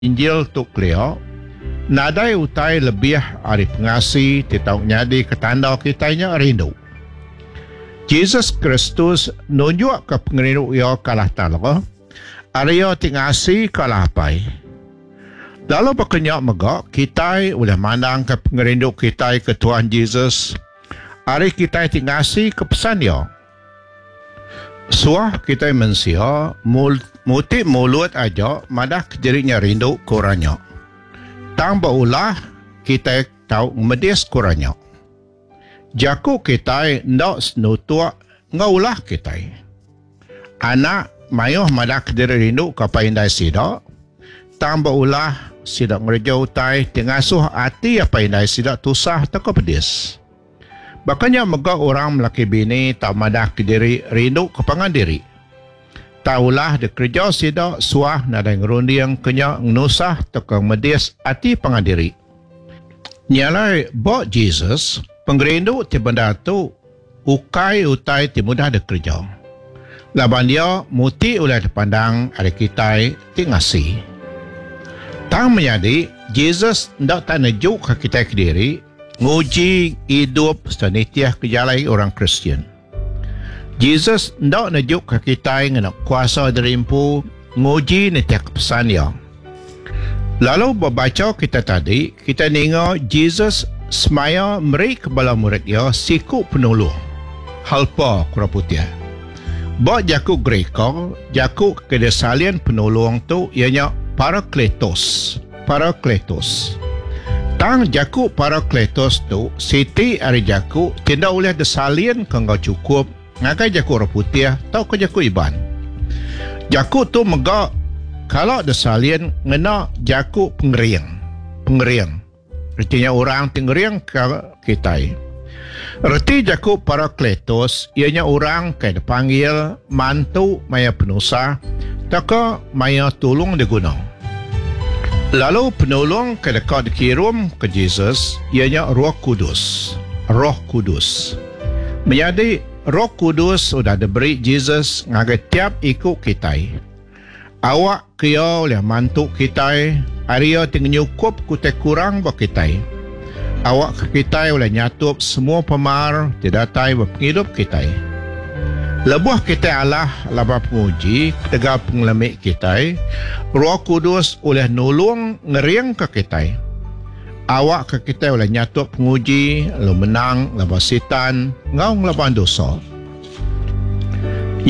Injil tu kelia, nadai utai lebih ari pengasi ti tau nyadika tanda kitai nya rindu. Jesus Kristus nunjukka pengerindu iya ke Allah Taala ari iya ti ngasika Allah Apai. Lalu baka nya mega kitai ulih mandangka pengerindu kitai ke Tuhan Jesus ari kitai ti ngasika pesan iya. Suah kitai mensia muti mulut aja madah ke diri nya rindu ke orang nya. Tang ba ulah kitai tau ngemedis ke orang nya. Jaku kitai enda senutuk enggau ulah kitai. Anak mayuh madah ke diri rindu ke apai indai sida, tang ba ulah sida ngereja utai ti ngasuh ati apai indai sida tusah tauka pedis. Baka nya mega orang melaki bini tau madah kediri rindu ke pangan diri. Tang ulah dikereja sida suah nadai ngerunding ke nya ngenusah tauka ngemedis ati pangan diri. Nya alai ba Jesus, pengerindu ti bendar tu ukai utai ti mudah dikereja, laban iya muti ulih dipandang ari kitai ti ngasi. Tang menyadi, Jesus enda tak nejuka kitai kediri, Nguji idup sereta nitihka jalai orang Kristian. Jesus enda nejuka kitai ngena kuasa diri empu nguji nitihka pesan iya. Lalu ba bacha kitai tadi, kitai ninga Jesus semaya merika bala murid iya siku penulung, helper ku orang putih. Ba jaku Gerika, jaku ke disalin penulung tu iya nya parakletos. Parakletos. Tang jaku parakletos tu siti ari jaku ti enda ulih disalinka enggau chukup ngagai jaku orang putih tauka jaku Iban. Jaku tu mega kala disalin ngena jaku pengering, pengering. Reti nya orang ti ngeringka kitai. Reti jaku parakletos iya nya orang ke dipanggil mantu maya penusah tauka maya tulung diguna. Lalu penulung ke deka dikirumka Jesus iya nya Roh Kudus. Roh Kudus. Menyadi, Roh Kudus udah diberi Jesus ngagai tiap iku kitai. Awak ke iya ulih mantu kitai ari iya ti ngenyukup ke utai kurang ba kitai. Awak ke kitai ulih nyatup semua pemar ti datai ba pengidup kitai. Lebuh kitai alah laban penguji ketegal pengelemi kitai, Roh Kudus ulih nulung ngeringka kitai. Awak ke kitai ulih nyatup penguji lalu menang laban Sitan enggau ngelaban dosa.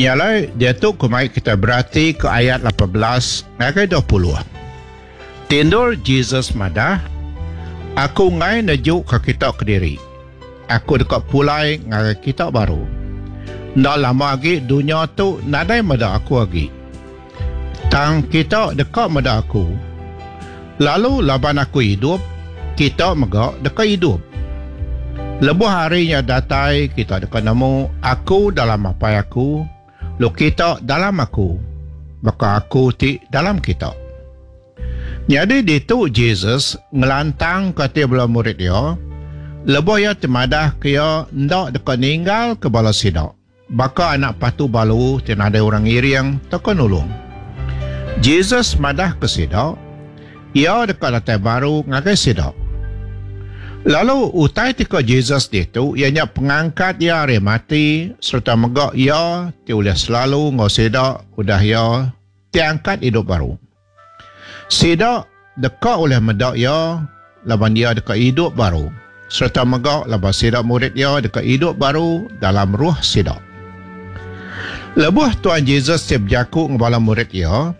Nya alai, diatu ku mai kitai beratika ayat 18 ngagai 20. Ti endur Jesus madah, Aku enggai nejuka kita kediri. Aku deka pulai ngagai kita baru. Enda lama agi dunya tu nadai meda aku agi. Tang kita deka meda aku. Lalu laban aku idup, kita mega deka idup. Lebuh hari nya datai, kita deka nemu aku dalam Apai aku, lalu kita dalam aku, baka aku ti dalam kita. Nyadi ditu Jesus ngelantangka ati bala murid iya lebuh iya ti madahka iya enda deka ninggalka bala sida. Baka anak patu balu ti nadai orang ngiring tauka nulung. Jesus madahka sida, Iya deka datai baru ngagai sida. Lalu utai ti ko Jesus ditu iya nya pengangkat iya ari mati sereta mega iya ti ulih selalu enggau sida udah iya ti angkat idup baru. Sida deka ulih meda iya laban iya deka idup baru sereta mega laban sida murid iya deka idup baru dalam roh sida. Lebuh Tuan Jesus ti bejaku enggau bala murid iya,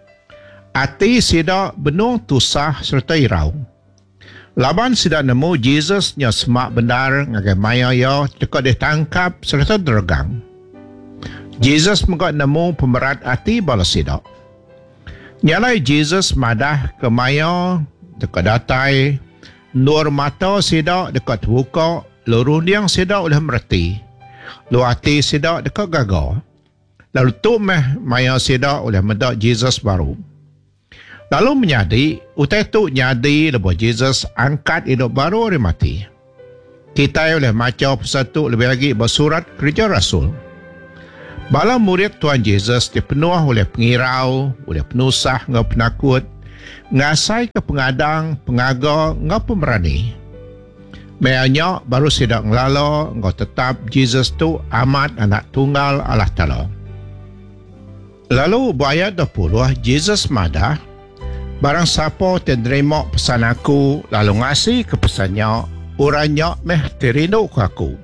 ati sida benung tusah sereta irau. Laban sida nemu Jesus nya semak bendar ngagai maya iya deka ditangkap sereta diregang. Jesus mega nemu pemerat ati bala sida. Nya alai Jesus madah ke maya deka datai endur mata sida deka tebuka lalu runding sida ulih mereti, lalu ati sida deka gaga. Lalu tu meh maya sida ulih meda Jesus baru. Lalu menyadi, utai tu nyadi lebuh Jesus angkat idup baru ari mati. Kitai ulih macha pasal tu lebih agi ba surat Kereja Rasul. Bala murid Tuan Jesus ti penuh ulih pengirau, ulih penusah enggau penakut. Ngasaika pengadang, pengaga enggau pemerani. Maya nya baru sida ngelala enggau tetap Jesus tu amat Anak Tunggal Allah Taala. Lalu ba ayat 20, Jesus madah, Barang sapa ti nerima pesan aku lalu ngasika pesan nya, orang nya meh ti rinduka aku.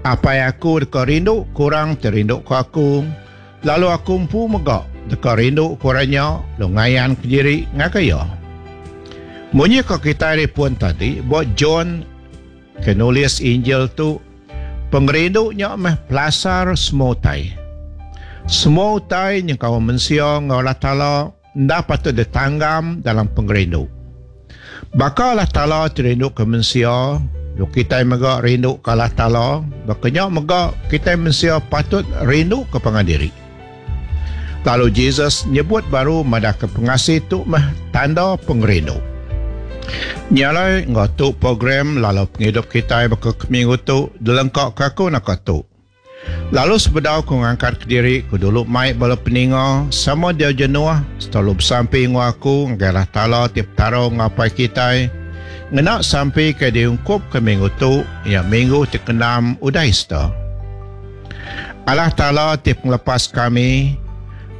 Apai aku deka rinduka orang ti rinduka aku, lalu aku empu mega deka rinduka orang nya lalu ngayanka diri ngagai iya. Munyi ka kitai ari pun tadi, ba John ke nulis Injil tu, pengerindu nya meh pelasar semua utai. Semua utai nyengkaum mensia enggau Allah Taala enda patut ditanggam dalam pengerindu. Baka Allah Taala ti rinduka mensia, lalu kitai mega rinduka Allah Taala, baka nya mega kitai mensia patut rinduka pangan diri. Lalu Jesus nyebut baru madahka pengasih tu meh tanda pengerindu. Nya alai enggau tu program lalau pengidup kitai baka ke minggu tu dilengkaka aku naka tu. Lalu sebedau ku ngangkat kediri ku dulu mai bala peninga sama diau jenuh serta lalu besampi enggau aku ngagai Allah Taala ti Petara enggau Apai kitai ngena sampi ke diungkupka minggu tu iya minggu ti keenam udah Easter. Allah Taala ti pengelepas kami,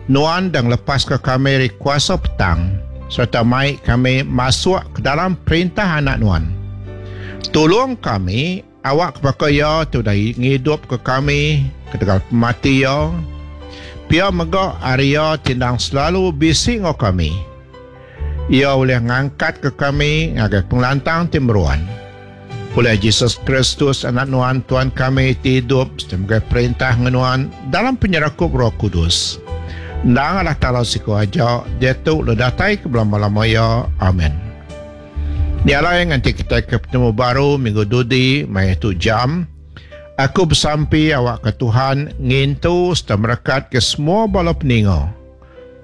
Nuan deh ngelepaska kami ari kuasa petang sereta mai kami masuk ke dalam perintah Anak Nuan. Tulung kami awakka baka Iya ti udah ngidupka kami ketegal pemati Iya, pia mega ari Iya ti endang selalu bisi enggau kami, Iya ulih ngangkatka kami ngagai pengelantang ti meruan. Ulih Jesus Kristus, Anak Nuan, Tuan kami ti idup sereta megai perintah enggau Nuan dalam penyerakup Roh Kudus. Endang Allah Taala siku aja, diatu lalu datai ke belama-lama iya. Amen. Nya alai nganti kitai ke betemu baru minggu dudi maya tu jam, aku besampi awakka Tuhan ngintu sereta merekatka semua bala peninga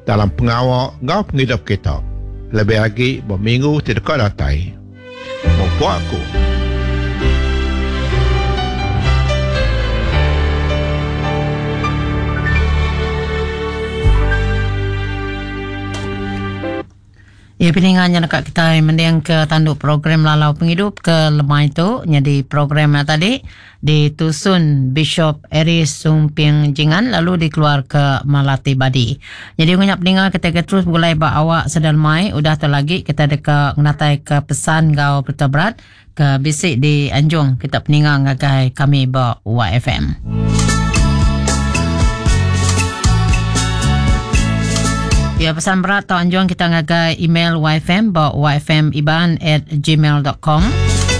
dalam pengawa enggau pengidup kita, lebih agi ba minggu ti deka datai. Mupuk aku. Ya peninga nya deka kitai mending ke tandu program lalau pengidup ke lemai tu nyadi program nya tadi ditusun Bishop Aries Sumping Jingan lalu dikeluar ke Malati Badi. Nyadi ngunya peninga kitai ke terus begulai ba awak sedar lemai udah tu lagi kitai deka ngenatai ke pesan enggau berita berat ke bisi dianjung kita peninga ngagai kami ba YFM. Ya, pesan berat tau anjung kita ngagai email YFM ba yfmiban@gmail.com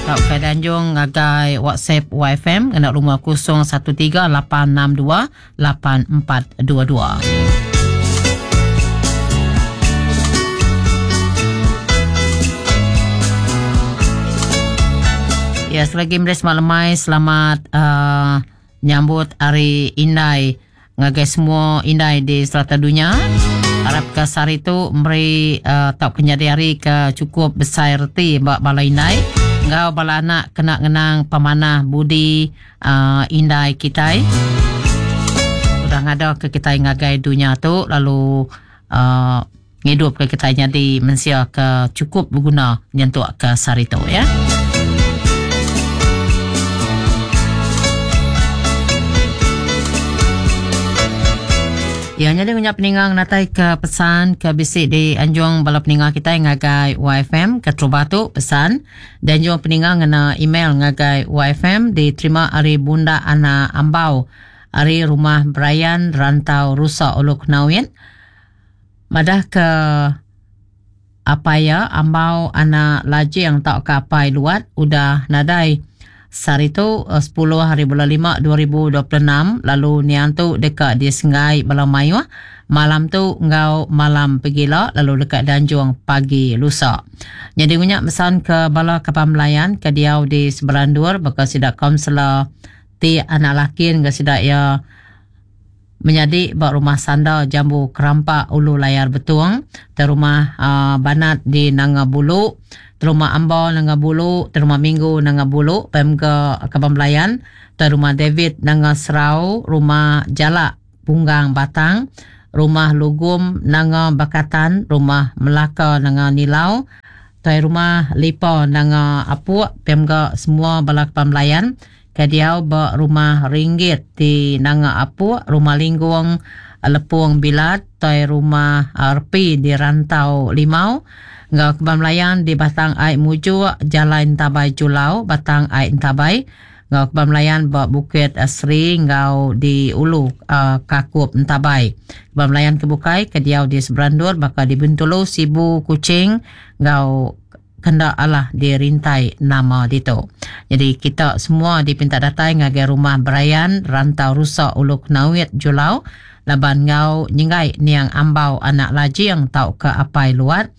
tauka dianjung ngagai WhatsApp YFM ngena lumur 013 862 8422. Ya, selagi meri selamat lemai, selamat uh, nyambut hari indai ngagai semua indai di serata dunya. Arap ke sehari tu meri uh, tau ke nyadi hari ke cukup besai reti ba bala indai enggau bala anak kena ngenang pemanah budi uh, indai kitai udah ngada ke kitai ngagai dunya tu lalu uh, ngidup ke kitai nyadi mensia ke cukup beguna nyentuk ke sehari tu ya. Ya, nyadi ngunyap peninga ngenatai ke pesan ke bisi di anjung bala peninga kitai ngagai YFM ke terubah tu pesan Dianjung peninga ngena email ngagai YFM diterima ari Bunda Ana Ambau ari Rumah Brayan Rantau Rusa Ulu Kenawit madahka apai iya Ambau Ana Lajing tauka Apai Luat udah nadai sehari tu sepuluh hari bulan lima 2026 lalu niang tu deka disenggai bala mayuh malam tu enggau malam pegila lalu deka dianjung pagi lusa. Nyadi ngunya mesan ke bala kaban belayan ke diau di sebelah endur baka sida kaunselor ti anak laki enggau sida iya menyadi ba rumah Sanda Jambu Kerampak Ulu Layar Betong, te rumah uhh Banat di Nanga Bulu, te rumah Amba Nanga Bulu, te rumah Minggu Nanga Bulu, pia mega kaban belayan te rumah David Nanga Serau, rumah Jalak Punggang Batang. Rumah Lugum Nanga Bakatan, Rumah Melaka Nanga Nilau, Tuai Rumah Lipa Nanga Apuk, pia mega semua bala kaban belayan ke diau ba Rumah Ringgit di Nanga Apuk, Rumah Linggung Lepung Bilat, Tuai Rumah Repi di Rantau Limau enggau kaban belayan di Batang Ai Mujuk, Jalai Entabai Julau, Batang Ai Entabai enggau kaban belayan ba Bukit Sri enggau di Ulu Kakup Entabai. Kaban belayan ke bukai ke diau di seberandur baka di Bintulu, Sibu, Kuching enggau kenda alah dirintai nama ditu. Nyadi kita semua dipinta datai ngagai Rumah Berayan, Rantau Rusa Ulu Kenawit, Julau laban enggau nyenggai niang ambau anak Lajing tauka Apai Luat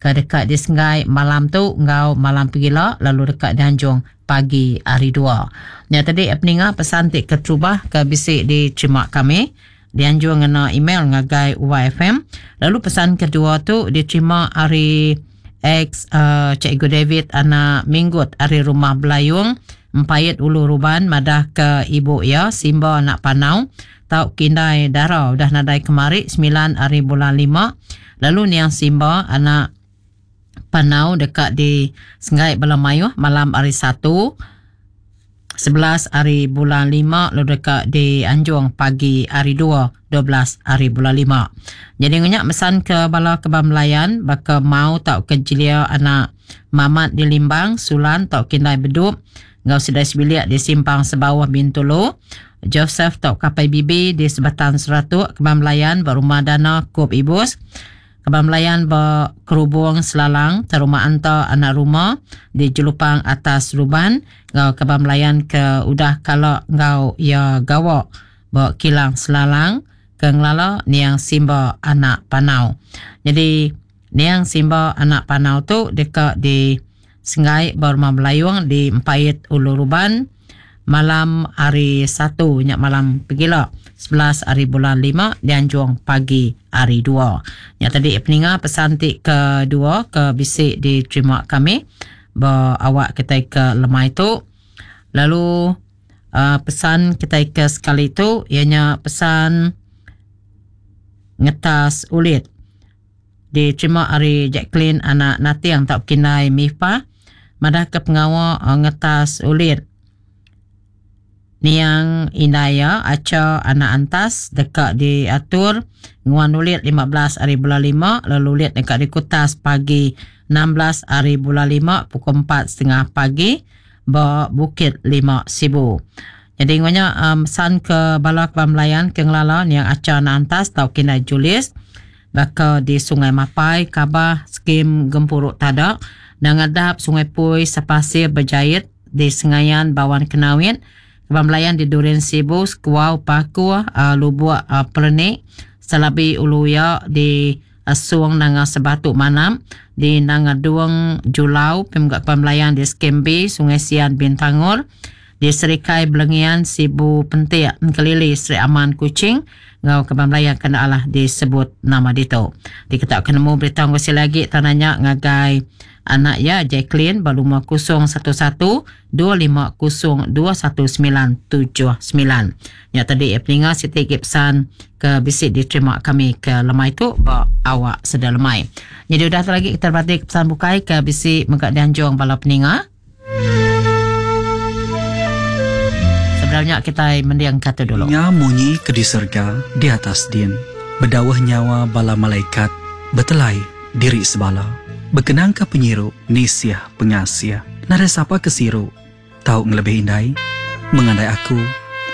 ke deka disenggai malam tu enggau malam pegila lalu deka dianjung pagi hari dua. Nya tadi peninga pesan ti keterubah ke bisi diterima kami dianjung ngena email ngagai YFM. Lalu pesan kedua tu diterima ari ex uh, Cikgu David anak Minggut ari Rumah Belayung Empait Ulu Ruban madah ke ibu iya Simba anak Panau tau kindai dara udah nadai kemari 9 hari bulan 5 lalu niang Simba anak Panau deka di senggai bala mayuh malam hari Satu, 11 hari bulan 5 lalu deka dianjung pagi hari 2, 12 hari bulan 5. Jadi ngenyak mesan ke bala kebam melayan baka mau tau ke jelia anak Mamat di Limbang, Sulan tau kindai Bedup enggau sidai sebilik di Simpang Sebauh Bintulu, Joseph tau Kapai Bibi di Sebatan Seratuk kebam melayan ba Rumah Dana Kup Ibus. Kaban belayan ba Kerubung Selalang Teruma Anta Anak Ruma di Jelupang Atas Luban enggau kaban belayan ke udah kala enggau iya gawa ba Kilang Selalang ke ngelala Niang Simba Anak Panau. Nyadi Niang Simba Anak Panau tu deka di Senggai ba Rumah Belayung di Empait Ulu Ruban malam hari Satu nya malam pegila 11 hari bulan 5 dianjung pagi hari 2. Nya tadi peninga pesan ti kedua ke bisi diterima kami ba awak kitai ke lemai tu. Lalu uh, pesan kitai ke sekali tu iya nya pesan ngetas ulit. Diterima ari Jacqueline anak Nating tauka Kindai Mifah madahka pengawa ngetas ulit niang indai iya Acha anak Antas deka diatur nguan ulit 15 ari bulan lima lalu ulit deka dikutas pagi 16 ari bulan lima pukul 4.30 pagi ba Bukit Lima Sibu. Nyadi enggau nya mesan ke bala kaban belayan ke ngelala niang Acha anak Antas tauka Kindai Julius baka di Sungai Mapai, Kabah, Skim Gempuru Tada, Nanga Dap, Sungai Pui, Sepasir, Bejait, di Sengayan, Bawan Kenawit, Kaban Belayan di Durin Sibu, Sekuau, Pakuh, Lubuk Perenik, Selabi Ulu Iya di Song Nanga Sebatu Manap, di Nanga Dung, Julau, pia mega Kaban Belayan di Skim B, Sungai Sian, Bintangor, di Serikai Belengian, Sibu Pentik, Engkelili, Sri Aman, Kuching, enggau kaban belayan ke enda alah disebut nama ditu. Diketa ke nemu berita enggau sila agi tau nanya ngagai anak iya Jacqueline ba lumur 011 250 21979. Nya tadi peninga siti agi pesan ke bisi diterima kami ke lemai tu ba awak seda lemai. Jadi udah tu lagi kita berati ke pesan bukai ke bisi mega dianjung bala peninga. Sebedau nya kitai mending ka tu dulu. Ninga munyi ke di serega di atas din, bedauh nyawa bala malaikat betelai diri sebala. Bekenangka penyiru nisih pengasih, nadai sapa ke siru tau ngelebih indai, mengandai aku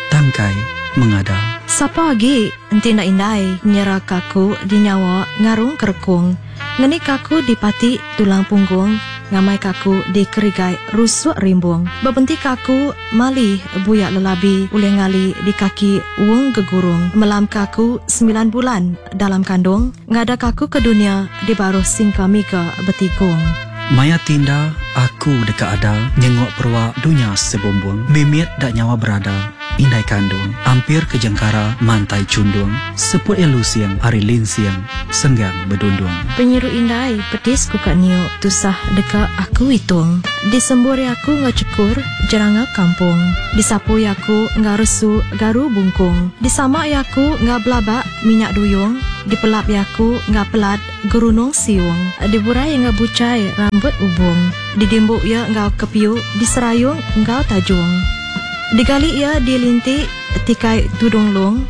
tangkai mengada. Sapa agi enti enda indai nyeraka aku di nyawa ngarung kerekung. Ngenika aku di pati tulang punggung, ngamaika aku di kerigai rusuk rimbung. Bebentika aku mali buya lelabi ulih ngali di kaki wung gegurung. Melamka aku semilan bulan dalam kandung, ngadaka aku ke dunya di baruh singka miga betigung. Maya tinda aku deka ada nyenguk perua dunya sebumbung. Mimit da nyawa berada. indai kandung. Ampir ke jengkara mantai chundung. Seput iya lusing ari linsing senggang bedundung. Penyiru indai pedis ku ka niu tusah deka aku itung. Disembur iya aku enggau chekur jeranga kampung. Disapu iya aku enggau resu garu bungkung. Disama iya aku enggau belabak minyak duyung. Dipelap iya aku enggau pelat gerunung siung. Diburai iya enggau buchai rambut ubung. Didimbu iya enggau kepiu diserayung enggau tajung. Digali iya dilinti tikai tudung lung.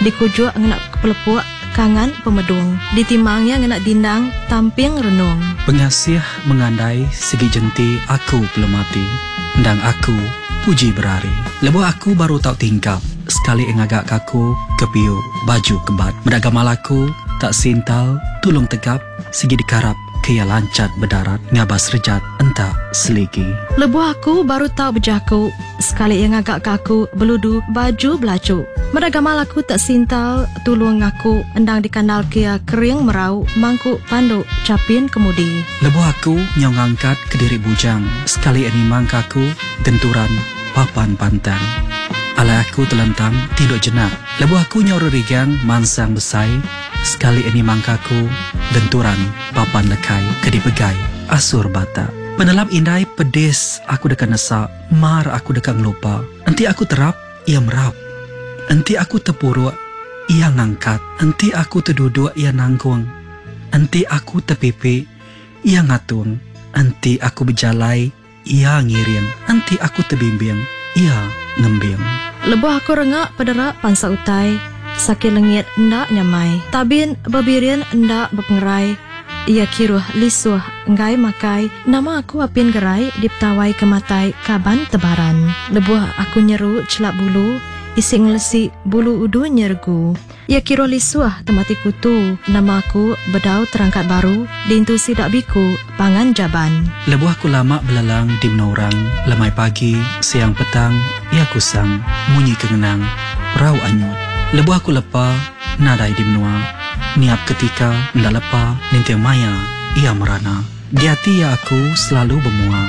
Dikujuk ngena pelepuk kangan pemedung. Ditimang iya ngena dindang tamping renung. Pengasih mengandai sigi jenti aku pelemati. Endang aku puji berari. Lebuh aku baru tau tingkap, sekali ngaga ka aku kepiu baju kebat. Meda gamal aku tak sintal tulung tegap sigi dikarap ke iya lanchat bedarat ngabas rejat enta seligi. Lebuh aku baru tau bejaku, sekali iya ngaga ka aku beludu baju belachu. Meda gamal aku tak sintal tulung ngaku endang dikandal ke iya kering merau mangku pandu chapin kemudi. Lebuh aku nyau ngangkat kediri bujang, sekali iya nimang ka aku genturan papan pantang. Alai aku telentang tinduk jenak. Lebuh aku nyau rerigang mansang besai, sekali iya nimang ka aku genturan papan lekai ke dipegai asur batak. Penelap indai pedis aku deka nesa, mar aku deka ngelupa. Enti aku terap, iya merap. Enti aku tepuruk, iya ngangkat. Enti aku teduduk, iya nanggung. Enti aku tepipi, iya ngatung. Enti aku bejalai, iya ngiring. Enti aku tebimbing, iya ngembing. Lebuh aku rengak pedera pansa utai, sakit lengit enda nyamai. Tabin bebirin enda bepengerai, iya kiruh lisuh enggai makai. Nama aku apin gerai dipetawai ke matai kaban tebaran. Lebuh aku nyeru chelap bulu, isi ngelesi bulu udu nyeregu. Iya kiruh lisuh temati kutu, nama aku bedau terangkat baru diintu sida biku pangan jaban. Lebuh aku lama belelang di menua orang, lemai pagi, siang petang, iya kusang, munyi ke ngenang, perau anyut. Lebuh aku lepa, nadai di menua, niap ketika enda lepa ninting maya iya merana. Di ati iya aku selalu bemua,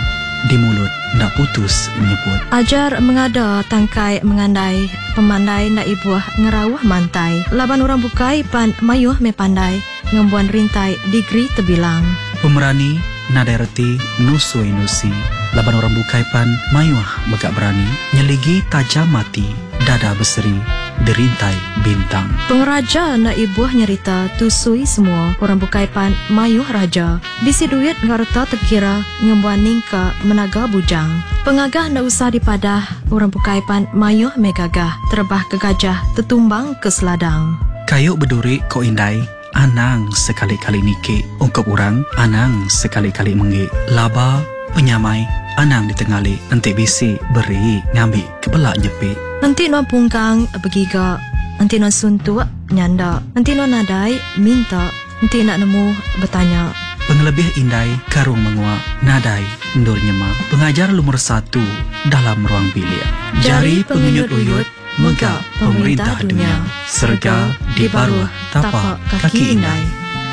di mulut enda putus nyebut. Ajar mengada tangkai mengandai, pemandai enda ibuh ngerauh mantai. Laban orang bukai pan mayuh meh pandai, ngembuan rintai degree tebilang. Pemerani nadai reti nusui nusi, laban orang bukai pan mayuh mega berani. Nyeligi tajam mati, dada beseri dirintai bintang. Pengeraja enda ibuh nyerita tusui semua, orang bukai pan mayuh raja. Bisi duit enggau reta tekira ngembuan ningka menaga bujang. Pengagah enda usah dipadah, orang bukai pan mayuh meh gagah. Terebah ke gajah tetumbang ke seladang. Kayu beduri ko indai, anang sekali-kali niki. Ungkup orang, anang sekali-kali menggi. Laba penyamai anang ditengali. Enti bisi beri ngambi kebela nyepi. Enti nuan pungkang begiga, enti nuan suntuk nyanda, enti nuan nadai minta, enti enda nemu betanya. Pengelebih indai karung mengua nadai endur nyema. Pengajar lumur satu dalam ruang bilik. Jari pengenyut uyut mega pemerintah dunya. Serega di baruh tapak kaki indai.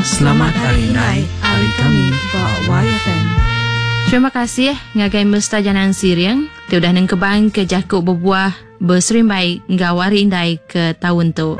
Selamat Hari Indai ari kami ba YFM. Terima kasih ngagai Mesta Janang Siring ti udah nengkebang ke jaku bebuah beserimbai enggau Hari Indai ke taun tu.